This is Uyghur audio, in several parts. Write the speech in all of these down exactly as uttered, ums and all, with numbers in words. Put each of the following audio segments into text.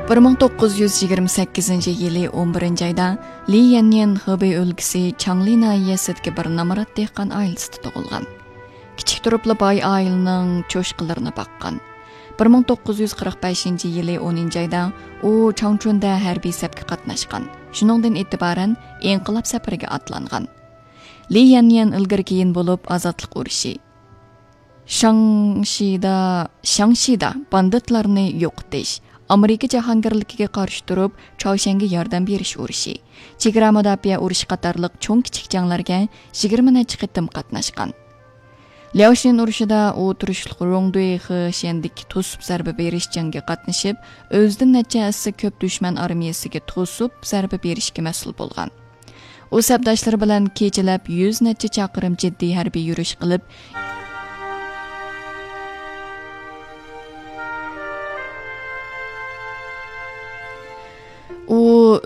بىر مىڭ توققۇز يۈز يىگىرمە سەككىزىنچى يىلى ئون بىرىنچى ئايدا لى يەنيەن خېبېي ئۆلكىسى چاڭلى ناھىيەسىدىكى بىر نامرات دېھقان ئائىلىسىدە تۇغۇلغان. كىچىك تۇرۇپلا باي ئائىلىنىڭ چوشقىلىرىنى باققان. بىر مىڭ توققۇز يۈز قىرىق بەشىنچى يىلى ئونىنچى ئايدا ئۇ چاڭچۈندە ھەربىي سەپكە قاتناشقان. شۇنىڭدىن ئېتىبارەن ئىنقىلاب سەپىرىگە ئاتلانغان. لى يەنيەن ئىلگىرى كېيىن بولۇپ ئازادلىق ئۇرۇشى، شاڭشىدا، شاڭشىدا باندىتلارنى يوقىتىش، ئامېرىكا جاھانگىرلىكىگە قارشى تۇرۇپ چاۋشيەنگە ياردەم بېرىش ئۇرۇشى، چېگرا مۇداپىئە ئۇرۇشى قاتارلىق چوڭ كىچىك جەڭلەرگە يىگىرمە نەچچە قېتىم قاتناشقان. لياۋشىن ئۇرۇشىدا ئۇ تۇرۇشلۇق روڭدۇي خېشيەندىكى توسۇپ زەربە بېرىش جەڭگە قاتنىشىپ، ئۆزىدىن نەچچە ھەسسە كۆپ دۈشمەن ئارمىيەسىگە توسۇپ زەربە بېرىشكە مەسئۇل بولغان. ئۇ سەپداشلىرى بىلەن كېچىلەپ يۈز نەچچە چاقىرىم جىددىي ھەربىي يۈرۈش قىلىپ، ئۇ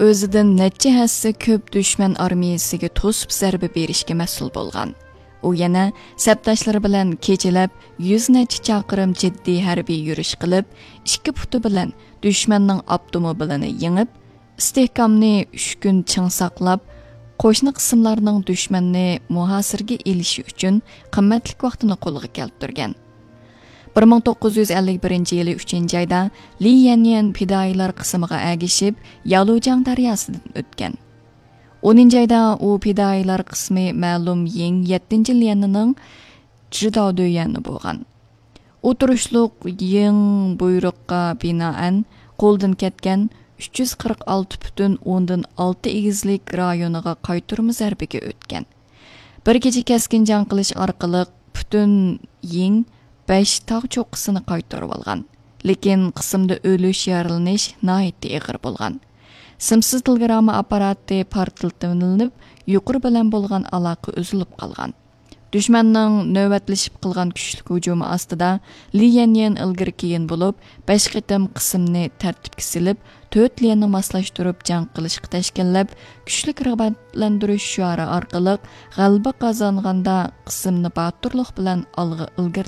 ئۆزىدىن نەچچە ھەسسە كۆپ دۈشمەن ئارمىيەسىگە توسۇپ زەربە بېرىشكە مەسئۇل بولغان. ئۇ يەنە سەپداشلىرى بىلەن كېچىلەپ يۈز نەچچە چاقىرىم جىددىي ھەربىي يۈرۈش قىلىپ، ئىككى پۇتى بىلەن دۈشمەننىڭ ئاپتوموبىلىنى يېڭىپ، ئىستىھكامنى ئۈچ كۈن چىڭ ساقلاپ، قوشنا قىسىملارنىڭ دۈشمەننى مۇھاسىرىگە ئېلىشى ئۈچۈن قىممەتلىك ۋاقتىنى قولغا كەلتۈرگەن. بىر مىڭ توققۇز يۈز ئەللىك بىرىنچى يىلى ئۈچىنچى ئايدا لى يەنيەن پىدائىيلار قىسمىغا ئەگىشىپ، يالۇجياڭ دەرياسىدىن ئۆتكەن. ئونىنچى ئايدا ئۇ پىدائىيلار قىسمى مەلۇم يىڭ يەتتىنچى ليەنىنىڭ جىداۋدۆيەنى بولغان. ئۇ تۇرۇشلۇق يىڭ بۇيرۇققا بىنائەن قولدىن كەتكەن ئۈچ يۈز قىرىق ئالتە پۈتۈن ئوندىن ئالتە ئېگىزلىك رايونىغا قايتۇرما زەربىگە ئۆتكەن. بىر كېچە كەسكىن جەڭ قىلىش ئارقىلىق پۈتۈن يىڭ بەش تاغ چوققىسىنى قايتۇرۇۋالغان. لېكىن قىسىمدا ئۆلۈش، يارىلىنىش ناھايىتى ئېغىر بولغان. سىمسىز تېلېگرامما ئاپپاراتى پارتلىتىۋېلىنىپ، يۇقىرى بىلەن بولغان ئالاقە ئۈزۈلۈپ قالغان. دۈشمەننىڭ نۆۋەتلىشىپ قىلغان كۈچلۈك ھۇجۇمى ئاستىدا لى يەنيەن ئىلگىرى كېيىن بولۇپ، بەش قېتىم قىسىمنى تەرتىپكە سېلىپ، تۆت ليەننى ماسلاشتۇرۇپ جەڭ قىلىشقا تەشكىللەپ، كۈچلۈك رىغبەتلەندۈرۈش شوئارى ئارقىلىق غەلىبە قازانغاندا، قىسىمنى باتۇرلۇق بىلەن ئالغا ئىلگىرى